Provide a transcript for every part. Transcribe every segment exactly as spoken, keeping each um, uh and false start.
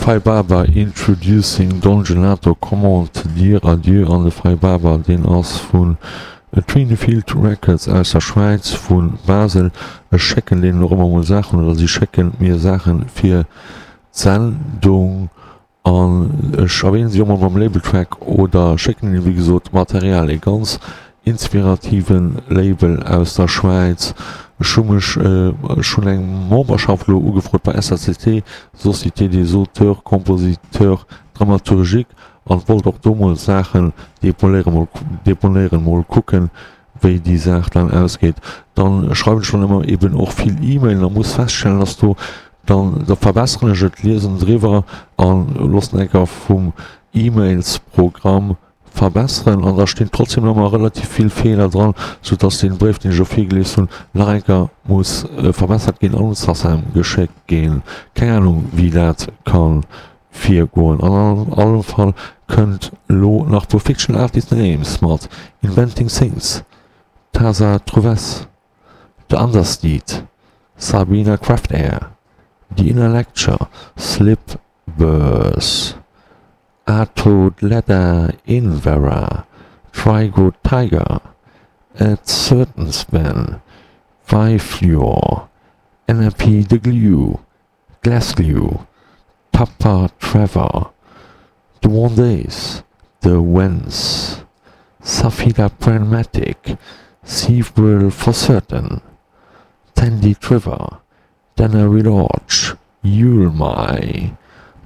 Fai Baba Introducing Don Gelato, Comment te dire adieu an de Fai Baba deen ass vun Twinfield Records aus der Schwäiz, vu Basel. Ech schécken deenen och ëmmer mol Saachen oder si schécken mir Saachen fir d'Sendung an ech erwähnen si och mol beim Label Track oder schécken hinnen wéi gesot Material. E ganz inspirativen Label aus der Schwäiz. Ech hu mech, ech hunn eng Memberschaft elo ugefrot bei S A C T, Société des auteurs compositeurs dramaturgiques, an wollt och do mol Saachen deponéieren, mol deponéieren, mol kucken, wéi déi Saach dann ausgeet. Dann schreiwen ech dann ëmmer eben och vill E-Mailen a muss feststellen, dass do dann, da verbesseren ech et, liesen driwwer an loossen enker vum E-Mails-Programm verbesseren an da stinn trotzdem nach ëmmer relativ vill Feeler dran, sou dass deen Bréif, deen ech elo virgelies hunn, nach eng Kéier muss verbessert ginn an un d'Sacem geschéckt ginn. Keng Ahnung wéi dat ka virgoen. An allem Fall kënnt elo nach puer Fictional Artist Names mat Inventing Things, Tasa Trouves, The Understeed, Sabina Craftair, The Inner Lecture, Slip Birth, Atodleda Invera, Trigo Tiger, At Certain Span, Vifluor, N R P The Glue, Glass Glue, Tupper Trevor, The One Days, The Wens, Safida Pragmatic, Several for Certain, Tandy Trevor, Dana Relorge, Yulmai.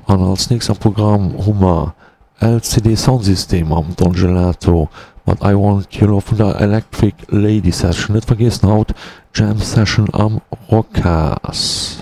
An als nächst am Programm hu mer L C D Soundsystem mam Don Gelato mat I Want Your Love vun der Electric Lady Session. Net vergiessen haut Jam Session am Rocas.